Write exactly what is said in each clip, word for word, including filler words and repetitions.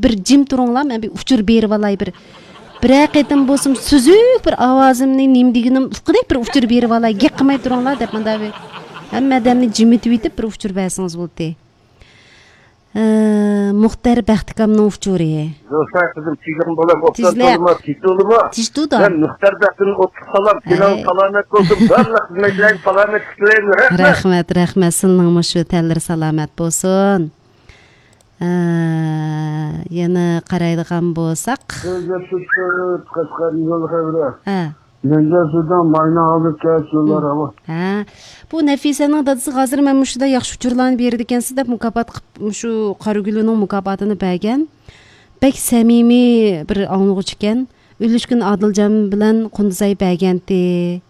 بىر جىم تۇرۇڭلار، مەن بىر ئۇچۇر بېرىۋالاي، بىر، بىرەر قېتىم بولسۇن سۈزۈك بىر ئاۋازىمنى، نېمە دېگىنىم ئۇققۇدەك بىر ئۇچۇر بېرىۋالاي، گەپ قىلماي تۇرۇڭلار دەپ، مۇنداق بىر ھەممە ئادەمنى جىمىتىۋېتىپ بىر ئۇچۇر بەرسىڭىز بولدى. ئە، مۇختەر بەختىكامنىڭ ئۇچۇرى. دوستلار، قىزىم، تېگىڭ بولام، ئوبدان تېزلە. تولىما، تېز تولىما. تېز تۇدۇ. مەن مۇختەر بەختىمدىن ئوتلۇق سالام. تېنىڭ ھەي. سالامەت بولسۇن، بارلىق خىزمەتچىلەرگە سالامەتلىك تىلەيمەن. رەھمەت. رەھمەت، رەھمەت. سىلىنىڭمۇ شۇ تەنلىرى سالامەت بولسۇن. ئە، يەنە قارايدىغان بولساق. سۆزلەپ تۇرۇپ، قەشقەردىن يول خەۋىرى. ھە. مەنزىرە سۇلتان مايناڭ ئالدى كەچ يوللار ھاۋا. ھە. بۇ نەفىسەنىڭ دادىسىغا ھازىر مەن مۇشۇنداق ياخشى ئۇچۇرلارنى بېرىدىكەنسىز دەپ مۇكاپات قىپ، مۇشۇ قارىگۈلنىڭ مۇكاپاتىنى بەرگەن. بەك سەمىمىي بىر ئاڭلىغۇچى ئىكەن. ئۈلۈشكۈن ئادىلجان بىلەن قۇندىزاي بەرگەنتى.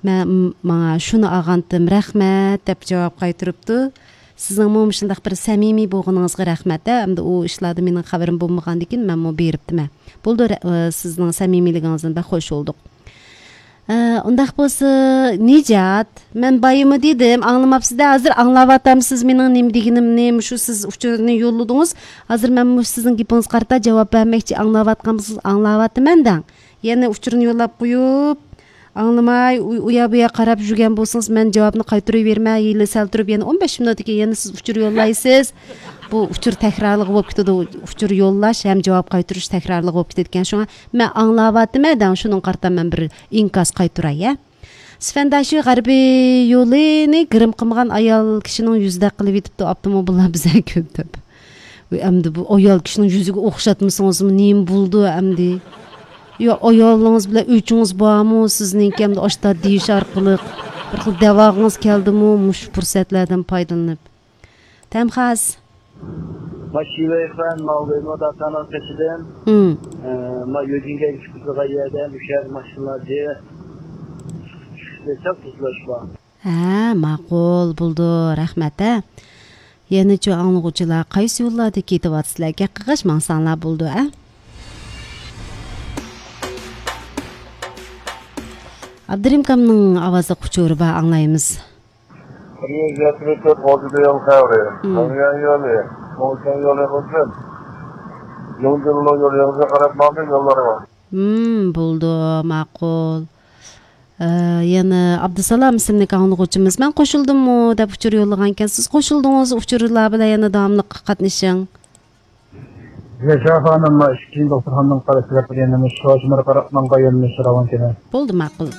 مەن، ماڭا شۇنى ئالغانتىم، رەھمەت دەپ جاۋاب قايتۇرۇپتۇ. سىزنىڭمۇ مۇشۇنداق بىر سەمىمىي بولغىنىڭىزغا رەھمەت ھە. ئەمدى ئۇ ئىشلاردا مېنىڭ خەۋىرىم بولمىغاندىكىن مەنمۇ بېرىپتىمەن. بولدى، رە-، ئە، سىزنىڭ سەمىمىيلىكىڭىزدىن بەك خوش بولدۇق. ئە، ئۇنداق بولسا، نىجات، مەن بايىمۇ دېدىم، ئاڭلىماپسىز-دە، ھازىر ئاڭلاۋاتامسىز مېنىڭ نېمە دېگىنىمنى، مۇشۇ سىز ئۇچۇرنى يوللىدىڭىز. ھازىر مەنمۇ سىزنىڭ گېپىڭىزگە قارىتا جاۋاب بەرمەكچى، ئاڭلاۋاتقانمىسىز، ئاڭلاۋاتىمەن دەڭ. يەنە ئۇچۇرنى يوللاپ قويۇپ، ئاڭلىماي، ئۇ، ئۇيا-بۇيا قاراپ يۈرگەن بولسىڭىز، مەن جاۋابنى قايتۇرۇۋېرىمەن. ھېلى سەل تۇرۇپ، يەنە ئون بەش مىنۇتتىن كېيىن يەنە سىز ئۇچۇر يوللايسىز. بۇ ئۇچۇر تەكرارلىق بولۇپ كېتىدۇ. ئۇچۇر يوللاش ھەم جاۋاب قايتۇرۇش تەكرارلىق بولۇپ كېتىدىكەن. شۇڭا مەن ئاڭلاۋاتىمەن دەڭ، شۇنىڭغا قارىتا مەن بىر ئىنكاس قايتۇراي، ھە. سفەنداشى غەربىي يولىنى گىرىم قىلمىغان ئايال كىشىنىڭ يۈزىدەك قىلىۋېتىپتۇ ئاپتوموبىللار بىزگە كۆپ دەپ. ۋەي، ئەمدى بۇ ئايال كىشىنىڭ يۈزىگە ئوخشاتمىسىڭىزمۇ نېمە بولىدۇ ئەمدى؟ يا ئايالىڭىز بىلەن ئۆچىڭىز بارمۇ سىزنىڭكى؟ ئەمدى ئاشتا دېيىش ئارقىلىق بىر خىل دەۋاغىڭىز كەلدىمۇ مۇشۇ پۇرسەتلەردىن پايدىلىنىپ؟ تەمخاس. ما شىۋەي خان، ما ۋېيمو داتانىڭ قېشىدىن. ھىم. ئە، ما يۆجىنگەن چىقىدىغان يەردە مۇشۇ يەردە ماشىنىلار دېيىش. چۈشۈپ كەتسەك تۇزلاش بار. ھە، ماقۇل، بولىدۇ، رەھمەت، ھە. يەنىچۇ ئاڭلىغۇچىلار قايسى يوللاردا كېتىۋاتىسىلەر؟ گەپ قىلغاچ ماڭساڭلار بولىدۇ، ھە. ئابدۇرېھىم ئاكامنىڭ ئاۋازلىق ئۇچۇرى بار، ئاڭلايمىز. بىر يۈز يەتمىش تۆت غوجىدا يول خەۋىرى. مم. مەڭگەن يولى، موڭشەن يولى بولسۇن. يۇڭجىللۇ يولىغا قاراپ ماڭدى يوللارغا. مم، بولىدۇ، ماقۇل. ئە، يەنە ئابدۇسالام ئىسىملىك ئاڭلىغۇچىمىز، مەن قوشۇلدۇممۇ دەپ ئۇچۇر يوللىغانكەن. سىز قوشۇلدىڭىز، ئۇچۇرلار بىلەن يەنە داۋاملىق قاتنىشىڭ. ياشا خانىم، ما ئىككىنچى دوختۇرخانىنىڭ قارشى تەرىپىدە يەنە مۇشۇ شوشمىر قاراپ ماڭغان يۆنىلىش راۋانكىنى. بولدى، ماقۇل.